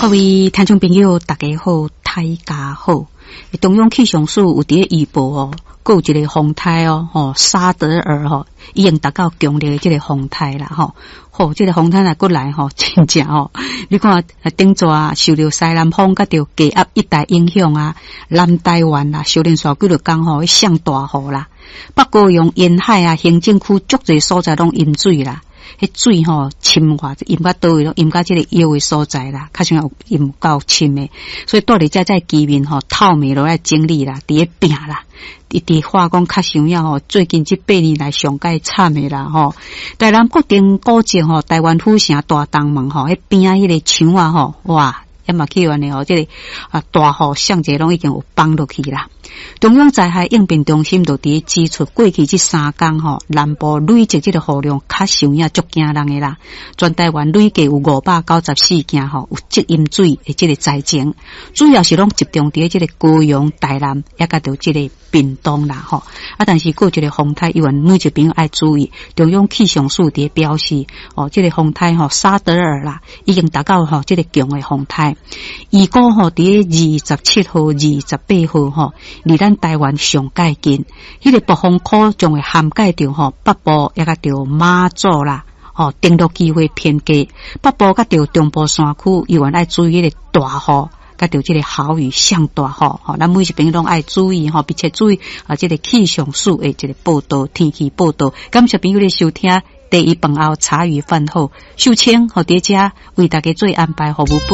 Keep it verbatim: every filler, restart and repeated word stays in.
各位聽眾朋友，大家好，大家好。中央氣象署有佇咧預報哦，閣有一個風颱哦，吼沙德爾吼，已經達到強烈的這個風颱啦，吼。吼，這個風颱若閣來吼，真正吼，你看頂逝受著西南風佮著低壓一帶影響啊，南台灣啊，小連續幾落工吼，上大雨啦。北高雄沿海啊，行政區足濟所在攏淹水啦。彼水吼深偌，淹到佗位攏淹到這個腰的所在啦，較像有淹夠深的，所以蹛佇遮這居民吼，透暝落來整理啦，佇咧拚啦，一直話講較像影吼，最近這八年來上蓋慘的啦吼。台南國定古蹟吼，台灣府城大東門吼，彼邊仔彼个牆仔吼，哇！也嘛去按呢吼，這個啊大雨上濟攏已經有崩落去啦。中央災害應變中心就佇咧指出，過去這三工吼，南部累積這個雨量較像影足驚人的啦。全台灣累計有五百九十四件吼，有積淹水的這個災情，主要是攏集中佇咧這個高雄、台南，抑佮著這個屏東啦吼。啊，但是閣有一個風颱，猶原每一朋友愛注意。中央氣象署佇咧表示，哦，這個風颱吼，沙德爾啦，已經達到吼這個強的風颱。預估吼，佇咧二十七號、二十八號吼，離咱台灣上蓋近，彼個暴風區將會涵蓋著吼北部，抑佮著馬祖啦，吼登陸機會偏低。北部佮著中部山區，猶原愛注意彼個大雨，佮著這個豪雨上大雨，吼，咱每一朋友攏愛注意吼，並且注意啊，這個氣象署的這個報道，天氣報道。感謝朋友的收聽，茶餘飯後茶餘飯後，秀清予佇遮為大家做安排服務報。